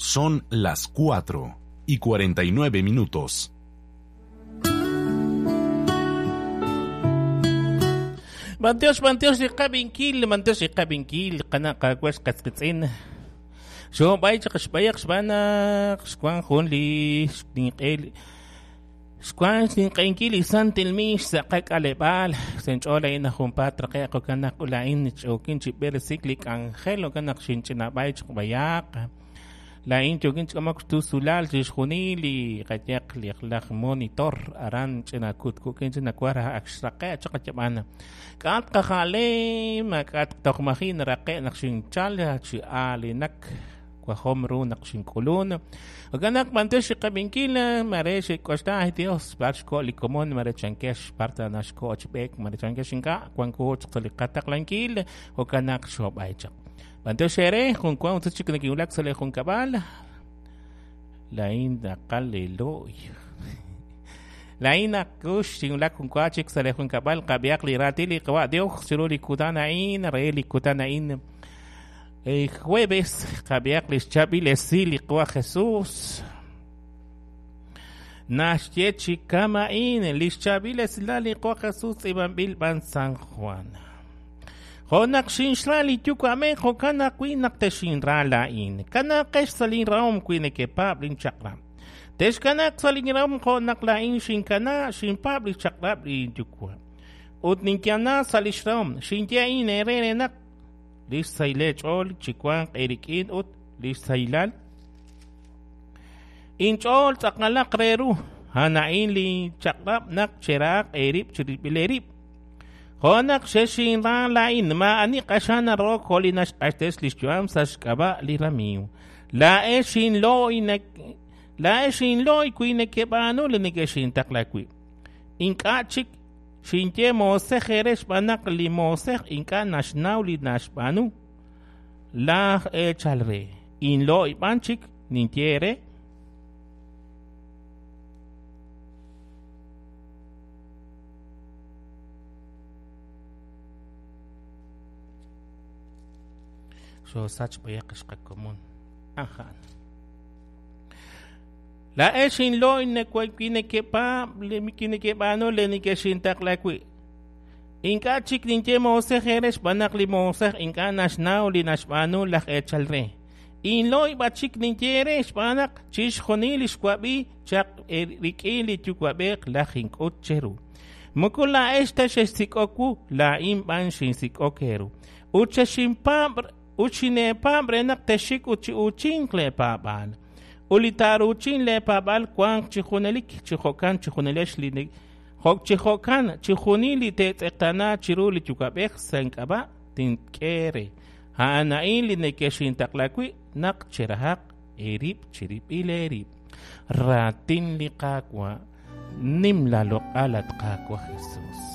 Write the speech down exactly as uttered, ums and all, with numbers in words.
Son las cuatro y cuarenta y nueve minutos. Manteos, manteos, riqabinkil, manteos, riqabinkil, qana qawax qasqitz'in. Xo bay chaqxbayaq xb'anaq xwan jun li xninq'el xwan xninq'enkil isantilmix saqak'aleb'al sench'ola ina jun patraqe qokanaq ulain ch'okin chib'eresik li k'anjel okanaq xinch'inab'ay chqb'ayaq lain chokin ch'amak tusulal chixjunil li qayaq li laj monitor aran ch'inakut kukin chinakwara akxraqe chaqachab'an k'at qajale mak'at toqmajin raqe naq xinchal chi alinak kwajom ru naq xink'ulun okanak mantex xiqab'inkil mare xik'oxta ay Dios barxko li komon mare chankex parta naxko ochb'ek mare chankex inka kwanku chqliqataqlankil okanak xob'aychaq mantex ere junkuan utchik nakiulak sale junkab'al lain aqal liloy lain akush xinulak junkuachik sale junkab'al qabiaq li ratili qawa Dios chiruli kutanain re li kutanain el jueves qabiaq li xchabil esili qawa Jesús naxye chikamain li xchabil esilali qawa Jesús iban bil ban San Juan Jonak xinxrali yukwame jokana kuinak texinralain kana kex salin raum kuinekepab lin chakram texkanak salin raum jonak lain xinkana xinpab li chakrab li yukwa ut ninkiana salixraum xinyain ererenak lix sailech'ol chikuan q'erikin ut lix sailal inch'ol tz'aqalaq reru hanain li chakrab nak cheraq erib chiribilerib jonak xexinran lain ma ani q'axana rok jolinax q'axtes lixyuam saxk'aba li ramiw la exinlo inek la exinlo kuinekeb'anu linekexintaqlakwi ink'a chik xinye mosej erex b'anaq li mosej ink'a naxnaw li naxb'anu laj echalre inlo ib'an chik nintyere xosach b'ayaq xqakomun ajan la exinlo inekuakinekepab lemikinekeb'anu lenikexintaqlakwi ink'a chik ninye mosej erex b'anaq li mosej ink'a naxnaw li naxb'anu laj echalre inlo ib'achik ninye erex b'anaq chixjunil ixwab'i chaq rik'in li yuwa'b'ej laj ink'ut cheru moko la'ex ta xexsik'oku la'in b'an xinsik'okeru ut xexinpab' ut xinepab' renaq texik ut chi'uchinq lepab'al ulitaruchin lepab'al wanq chijunelik chijo'kan chijunilex li jo'k chijo'kan chijunil li tetz'eqtana chiru li yuwa'b'ej sank'ab'a' tink'ere ha'ana'in li nekexintaqlakwi naq cherajaq erib' chirib'il erib' ratin li qaawa' nim la loq'al at qaawa Jesús.